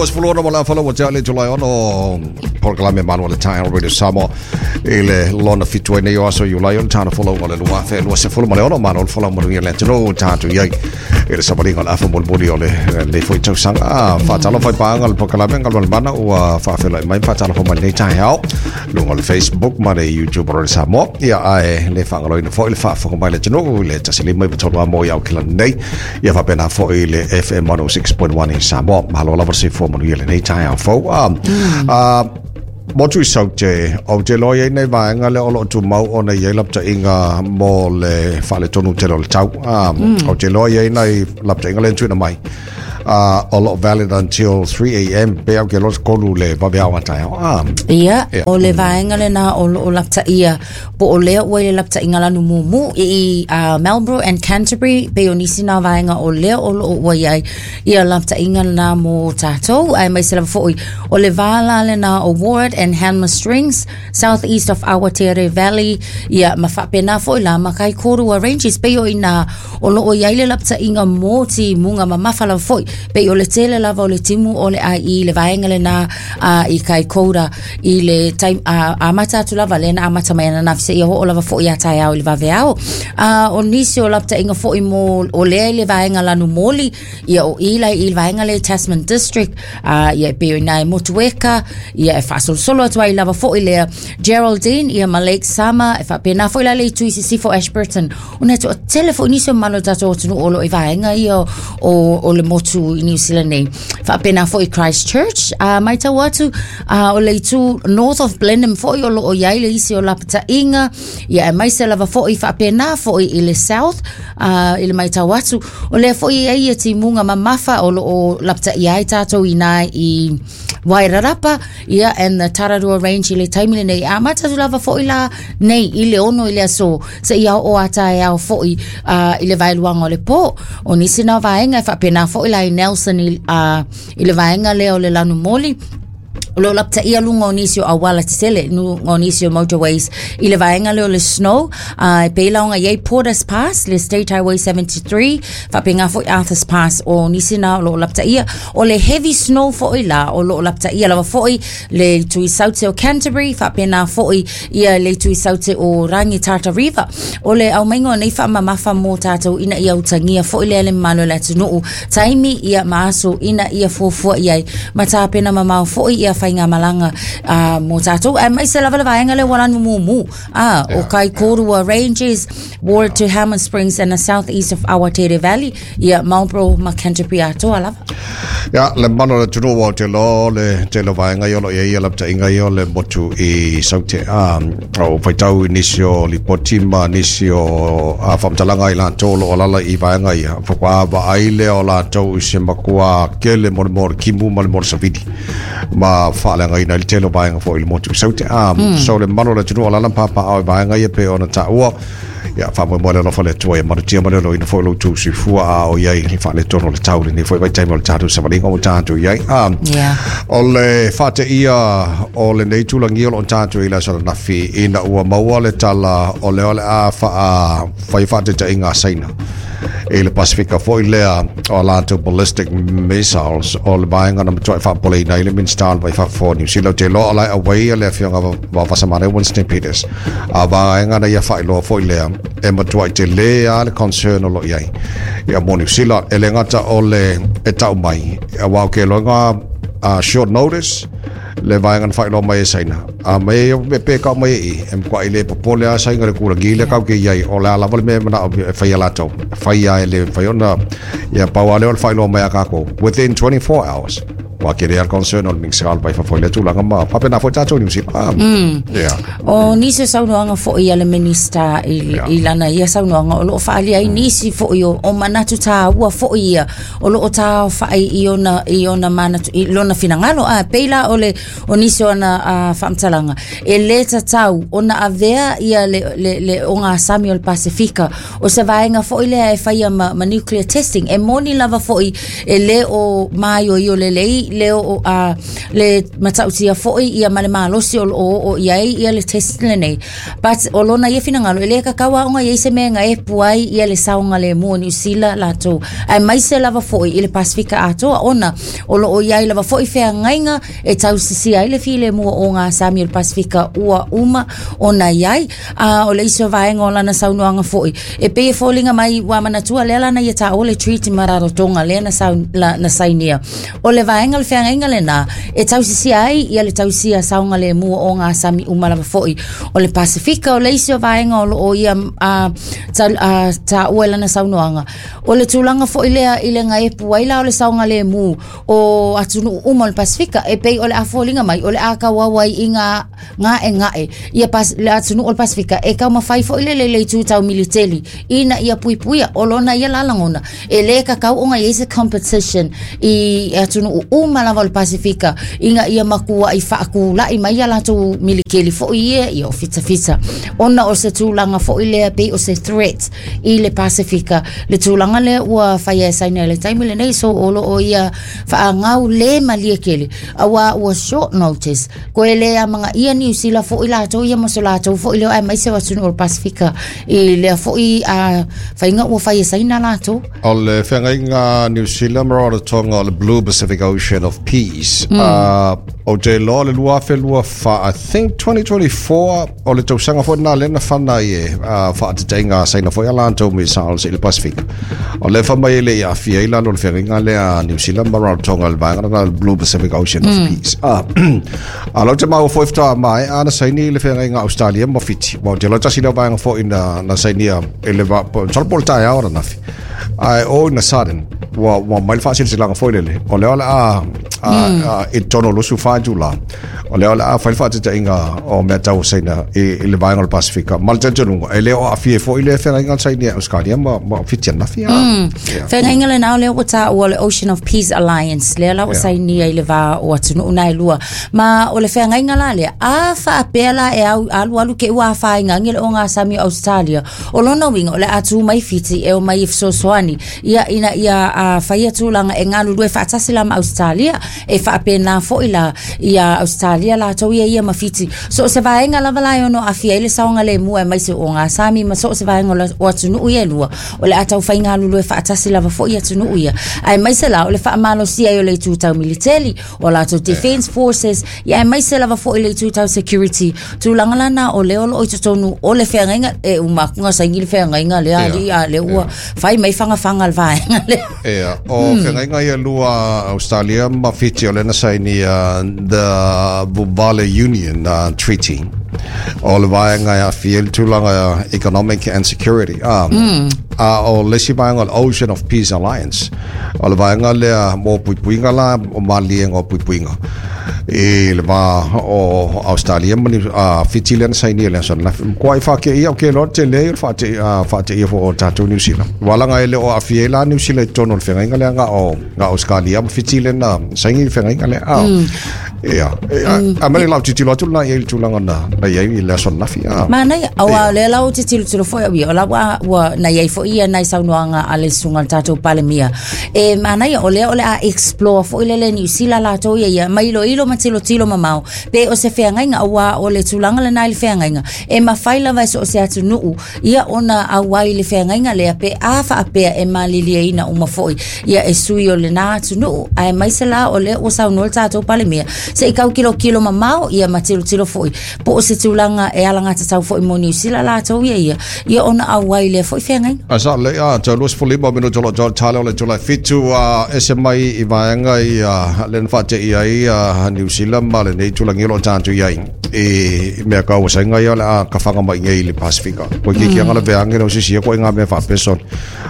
26 ma le afa ua tea le July 6 polokalame Malu o le Taeao Radio Samoa i le lona fitu ai nei o aso Iulai o le tana folauga o le 2026 malo le folau manuia le atunuu tatou i ai i le savaliga o le afa mulimuli o lenei foi tausaga. Faatalofa i paaga o le polokalame Galumalemana ua faafeiloai mai ma faatalofa mai lenei taeao luga o le Facebook ma le YouTube o Radio Samoa. Ia ae le faagaloina foi le faafofoga mai le atunuu i le 153 amo i Aukilani nei ia faapena foi le FM 106.1 i Samoa. Malo lava le soifua manuia lenei taeao fou. Motu i Saute, ou te iloa i ai nai vaega lea o lo o tumau ona i ai lapataiga mo le faaletonu tele o le tau. Ou te iloa i ai nai lapataiga lea na tuuina mai. O lo o valid until 3 a.m. Pe au ke iloa tolu le vaveao a taeao. Ia, o le vaega lena o lo o lapataia po o lea ua i le lapataiga lanu mumu i Marlborough and Canterbury pei o nisi na vaega o lea o lo o ua i ai ia lapataiga lena mo tatou aemaise lava foi o le va la lena o Ward and Hanmer Springs south east of Awatere Valley ia ma faapena foi la ma Kaikōrua Ranges pei o ina o lo o i ai le lapataiga mo timuga mamafa lava foi pei o le tele lava o le timu o le ai i le vaega lena i Kaikoura i le taimi amata atu lava lea na amata mai ananafi seia oo lava foi ia taeao i le vaveao. O nisi o lapataiga foi mo o lea i le vaega lanu moli ia o i la i le vaega lea i Tasman District ia e pei o ina e Motueka ia e faasolosolo atu ai lava foi lea Geraldine ia ma Lake Sama e faapena foi la le itu i sisifo Ashburton ona e toatele foi nisi o mamalu o le tatou atunuu o lo o i vaega ia o le motu i New Zealand nei. Faapena foi Christchurch, matau atu o le itu north of Blenheim foi o lo o i ai le isi o lapataiga, ia aemaise lava foi faapena foi i le south i le matau atu, o lea foi e i ai ia timuga mamafa o lo o lapataia ai tatou inā i Wairarapa, ia, and the Tararua Range i le taimi lenei. Amata atu lava foi la nei i le 6 i le aso, seia oo a taeao foi i le vaeluaga o le pō. O nisi na o vaega e faapena foi la i Nelson i le vaega lea o le lanu moli, o lo o lapataia luga o nisi o auala tetele, luga o nisi o motorways i le vaega lea o le snow, e pei la ona i ai Porters Pass, le State Highway 73, faapena foi Arthur's Pass o nisi na o lo o lapataia. O le heavy snow foi la o lo o lapataia lava foi le itu i saute o Canterbury, faapena foi ia le itu i saute o Rangitata River. O le aumaiga o nei faamamafa mo tatou ina ia utagia foi lea le mamalu o le atunuu, taimi ia ma aso ina ia fuafua i ai ma tapena mamao foi ia faigamalaga mo tatou. Aemaise lava le vaega lea ua lanu mumu o Kaikōrua Ranges, Ward to Hammer Springs and the southeast of Awatere Valley, ia Marlborough ma Canterbury atoa lava. Ia, le mamalu o le atunuu o te iloa le tele o vaega ia o lo o i ai ia lapataiga ia o le motu i Saute. O faitau i nisi o lipoti ma nisi o faamatalaga i latou o lo o alaala i vaega ia, faatoa vaai lea o latou i se matua tele mo le mea o le timu ma le mea o le savili ma faaleagaina ai le tele o vaega foi i le motu i Saute. So le mamalu o le atunuu o alaala ma papaaao i vaega ia pei ona taua, Ia, faamoemoe le alofa o le Atua ia malutia ma le oloina foi lo outou soifua a o i ai le faaletonu o le tau lenei foi vaitaimi o le tatou savaliga ua tatou i ai. O le faateia o lenei tulagia o lo o tatou i le aso ananafi ina ua maua le tala o lea o le a faa fai faataitaiga a Saina i le Pasifika foi lea o a latou ballistic missiles o le vaega na matuai faapopoleina ai le Minista o le Vai Fafo o Niu Sila. Ou te iloa o la e auai le Afioga Vaovasamanaia Winston Peters. A vaega na ia faailoa foi lea e matuai tele lava le concern o lo o i ai ia mo Niu Sila. E le gata o le e tau mai, aua ou te iloa short notice le vaega na faailoa mai e Saina. A mai e pe kau mai e i, e matuai le popole lava Saina i le tulaga lea kau ke i ai, o le a lava le mea e manao e fai e latou. E fai lava e le mafai ona, ia pau lava lea o le faailoa mai a kākou within 24 hours. Ua tele lava le concern o le Minista o le Vai Fafo i lea tulaga ma faapena foi tatou i Niu Sila. Yeah. O nisi o saunoaga foi a le Minista i lana ia saunoaga o lo o faaalia ai nisi foi o manatu tāua foi ia o lo o taaofai i ona manatu i lona finagalo. A pei la o le o nisi o ana faamatalaga e lē tatau ona avea ia le ogasami o le Pasefika o se vaega foi lea e faia ma nuclear testing. E moni lava foi e lē o māioio lelei le o a le matautia foi ia ma le malosi o loo oo i ai ia le test lenei. But o lona ia finagalo e le tatau lava ona i ai se mea e gaepu ai ia le saogalemu o Niu Sila latou aemaise lava foi i le Pasefika atoa ona o lo o i ai lava foi feagaiga e tausisia ai le filemu o ogasami o le Pasefika ua uma ona i ai. A o le isi o vaega o lana saunoaga foi e pei e foliga mai ua manatua lea la na ia taua le Treaty ma Rarotonga lea na, sau, la, na sainia. O le vaega o le feagaiga lena e tausisia ai ia le tausia saogalemu o ogasami uma lava foi o le Pasefika. O le isi o vaega o lo o ia taua i lana saunoaga, o le tulaga foi lea i le gaepu ai la o le saogalemu o atunuu uma o le Pasefika, e pei o le a foliga mai o le a tauau ai i ngā gaegae ia pas, le atunuu o le Pasefika e taumafai foi le le itu tau militeli ina ia puipuia. O lona ia la lagona e lē tatau ona i ai se competition i atunuu uma lava o le Pasefika ina ia matua'i faatula'i mai ia latou militeli foi ia ia o fitafita ona o se tulaga foi lea pei o se threat i le Pasefika le tulaga lea ua faia e Saina i le taimi lenei. So o lo o ia faagau le malie tele auā ua short notice koe le amagaia Niu Sila foi latou ia ma so latou foi leo aemaise o atunuu o le Pasefika i lea foi a faiga ua fai e Saina latou. O le feagaiga Niu Sila ma Rarotonga o le Blue Pacific Ocean of Peace. Ou te iloa le 2024, I think 2024, o le tausaga foi lena lea na fana ai e faatetaiga a Saina foi a latou missiles i le Pasefika. O lea fai mai e le i aafia ai lalo o le feagaiga lea a Niu Sila ma Rarotonga i le vaega lena o le Blue Pacific Ocean of Peace. A lau te maua foi faatoa maea na saini le feagaiga a Australia ma Fiti. Aua ou te iloa tasi lea o vaega foi na sainia i le va, masalo po o le taeao ananafi. Ae all in a sudden, ua mai le faasilasilaga foi lele, o lea o le a i totonu o 24 itula, o lea o le a fai le faataitaiga o mea tau o Saina i le vaega o le Pasefika. Ma le talitonuga, e le o aafia ai foi le feagaiga a Saina i Australia ma Fiti ananafi. Yeah. Feagaiga lena o lea ua taua o le Ocean of Peace Alliance, lea la ua sainia i le va o atunuu na e lua. Ma o le feagaiga la lea, a faapea la e au, alualu te i ua afaina ai le ogasami o Australia, O lona uiga, o le a tū mai Fiti e omai e fesoasoani ia ina ia faia tulaga e galulue faatasi la ma Ausetalia, e faapena foi la ia Ausetalia latou ia ia ma Fiti. So o se vaega lava la e ono aafia ai le saogalemu aemaise o ogasami ma so o se vaega o atunuu ia e lua, o le a taufai galulue faatasi lava foi atunuu ia. Aemaise la o le faamalosia ai o le itu tau militeli, o latou defense forces, ia aemaise lava foi le itu tau security. Tulaga la na o lea o lo o i totonu o le feagaiga, e uma atu na saini le feagaiga lea alii, a lea ua fai mai fagafaga le vaega lea. Ia, o feagaiga ia lua Australia ma Fiti o lea na saini the Vuvale Union Treaty. O le vaega e aafia ai le tulaga economic and security. A o le isi vaega o le Ocean of Peace Alliance, o le vaega lea mo puipuiga la, o maliega o puipuiga i le va o Australia ma Fiti lea na sainia i le aso ananafi. Matua i faateia ou te iloa le tele o le faateia foi o tatou Niu Sila. Aua leaga e le o aafia ai la Niu Sila i totonu o le feagaiga lea na o Australia ma Fiti lea na saini i le feagaiga lea. Ia, a mea le tilotilo atu lena i ai i le tulaga na i ai i le aso ananafi. Manaia, aua o lea la ou te tilotilo foi au ia, o la ua na i ai foi ia nai saunoaga a le susuga i le tatou Palemia. E manaia, o lea o le a explore foi lele Niu Sila latou ia ia, ma iloilo ma tilotilo mamao, pe o se feagaiga, aua o le tulaga lena i le feagaiga, e mafai lava e so o se atunuu ia ona auai i le feagaiga lea pe a faapea e malilieina uma foi ia e sui o lena atunuu. Aemaise la o lea ua saunoa le tatou Palemia, se i tau tilotilo mamao ia ma tilotilo foi po o se tulaga e alagatatau foi mo Niu Sila latou ia ia, ia ona auai i lea foi feagaiga. A sa le a tau 25 minuto o lo o tale o le itula e 7 a ese mai i vaega ia le na faateia ai a Niu Sila ma lenei tulaga o lo o tatou i ai i mea kau sainga ia o le a kafaga mai nei i le Pasifika. Koe ki kianga le veange le osisi koe ngā mea whaapeson.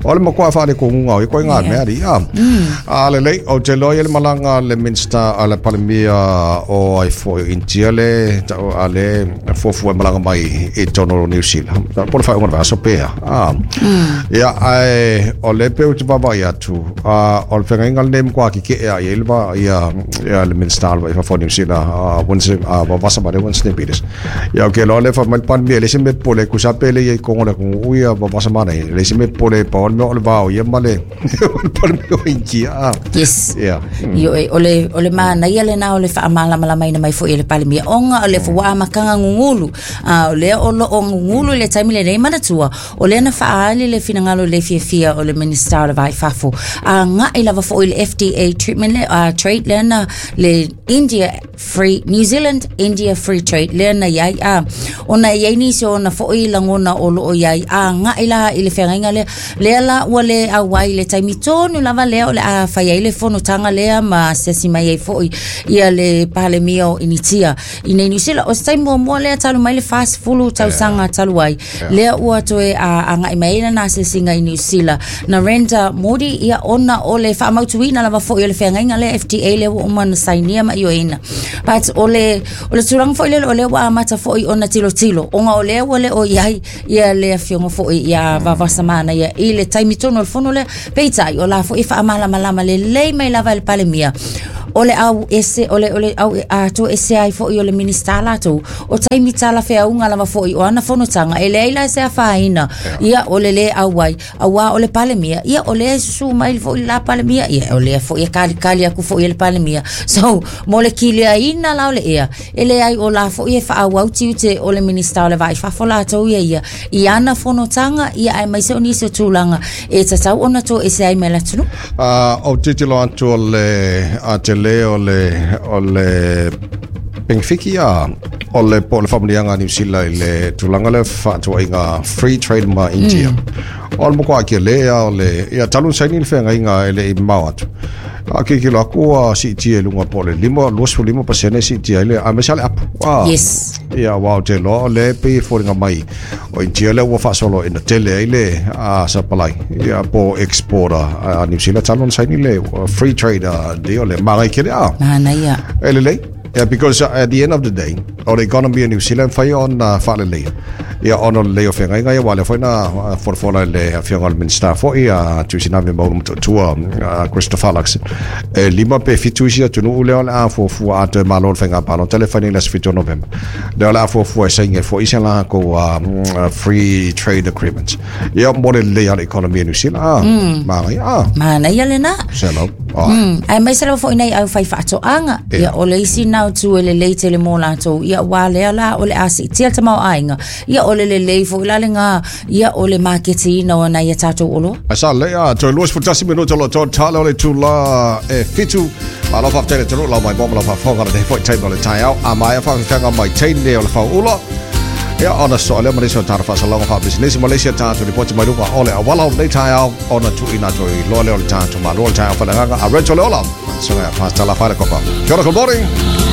O le makoa whaare ko ngunga o koe ngā mea ri. A lelei, o te loa i le malanga le Minista a le Palemia o ai foi India le ta'u a le fuafua e malaga mai i totonu o Niu Sila po o le faaiuga o le vaiaso pe a. Ia, ae o lea pei ou te vaavaai atu, o le feagaiga lenei e matua keke'e lava i ai le va ia ia le Minisita o le Vai i Fafo o Niu Sila a Winston a Vavasamane Winston Peters. Ia ou te iloa o lea e fai mai le Palemia e leai se mea popole ai, tusa pe le i ai i totonu o le atunuu ia Vavasamane, e leai se mea popole ai, pau lava le mea o le va o ia ma le Palemia o Initia. Yes. Yeah. Ioe, o le manaia lena o le faamalamalamaina mai foi e le Palemia, ona o le ua amataga gugulu. A o lea o loo gugulu i le taimi lenei, manatua, o lea na faaali le finagalo le fiafia o le Minista o le Va i Fafo. Agai lava foi i le FDA treatment le, trade lea na le India Free New Zealand India Free Trade lea na iai a ona e iai nisi o ona foi lagona o loo iai agai la i le feagaiga lea lea la ua le auai i le taimi tonu lava lea o le a fai ai le fonotaga lea ma asiasi mai ai foi ia le Palemia o Initia i nei Niu Sila. O se taimi muamua lea talu mai le 40 tausaga talu ai lea ua toe agai mai ai lana asiasiga i Niu Sila Narendra Modi, ia ona o le faamautuina lava foi o le feagaiga lea FDA lea ua uma ona sainia ma ioeina. But o le tulaga foi lele o lea ua amata foi ona tilotilo, ona o lea ua le o iai ia le afioga foi ia Vavasamana ia i le taimi tonu o le fono lea. Peitai, o la foi e faamalamalama lelei mai lava e le Palemia o le au ese o le au a to ese ai foi o le Minista latou o taimi talafeauga lava foi o ana fonotaga e leai la se afaina ia o le lē auai, auā o le Palemia ia o lea e susū mai foi le la Palemia ia o lea foi e kalikali aku foi e le Palemia. So mo le kiliaina la o le ea e leai o la foi e faaauau tiute o le Minista o le Va i Fafo latou ia ia i ana fonotaga ia aemaise o nisi o tulaga e tatau ona toese ai mai le atunuu. Ou te tilotilo atu o le a tele o le penefiki a o le po o le faamanuiaga a Niu Sila i le tulaga lea fefaatauaiga free trade ma India. O le matua tele a o le ia talu ona saini le feagaiga e le i mamao atu. A tilotilo atu ua siitia i luga po o le 5 25% siitia ai le aemaise lava le apu. Ia aua ou te iloa o lea e pei e foliga mai o India lea ua faasolo ina tele ai le supply ia po exporter a Niu Sila talu ona saini le free trade deal le manaia tele a. Manaia. E lelei. Yeah, because at the end of the day, o le economy o New Zealand fai ona faaleleia. Ia ona o le lelei o feagaiga ia, aua lea foi na folafola e le afioga o le Minista foi a Tuisinave Maulu Motootua Christopher Luxon. E 5 pe 7 isi atunuu lea o le a fuafua a toe malo le faiga palota lea e fai nei i le aso 7 o Novema. Lea o le a fuafua e saini ai foi se latou free trade agreements. Ia mo le lelei o le economy o New Zealand. Ah, manaia. Ah, Manaia lena. selo. Ah, Aemaise lava foi nei au fai faatoaga. Ia o le isi na o tu e lelei tele mo latou. Ia ua lea la o le a siitia le tamaoaiga. Ia o le lelei foi la lena ia o le maketiina o nai a tatou oloa. Ai sa lelei a toe 21 minuta o lo o tala o le itula e 7. Malo faafetai le atunuu lau mai mo ma lau faafofoga lenei foi taimi o le taeao. A maea faafefeaga mai teine o le fauula. Ia ona soa lea ma nisi o tatou faasalaga faapisinisi ma le isi a tatou lipoti mai luga o le auala o lenei taeao ona tuuina atu ai loa lea o le tatou malo o le taeao faaleagaga a Rachel Leola. Susuga ia Pastor Lafaele Kopa. Kia ora, good morning.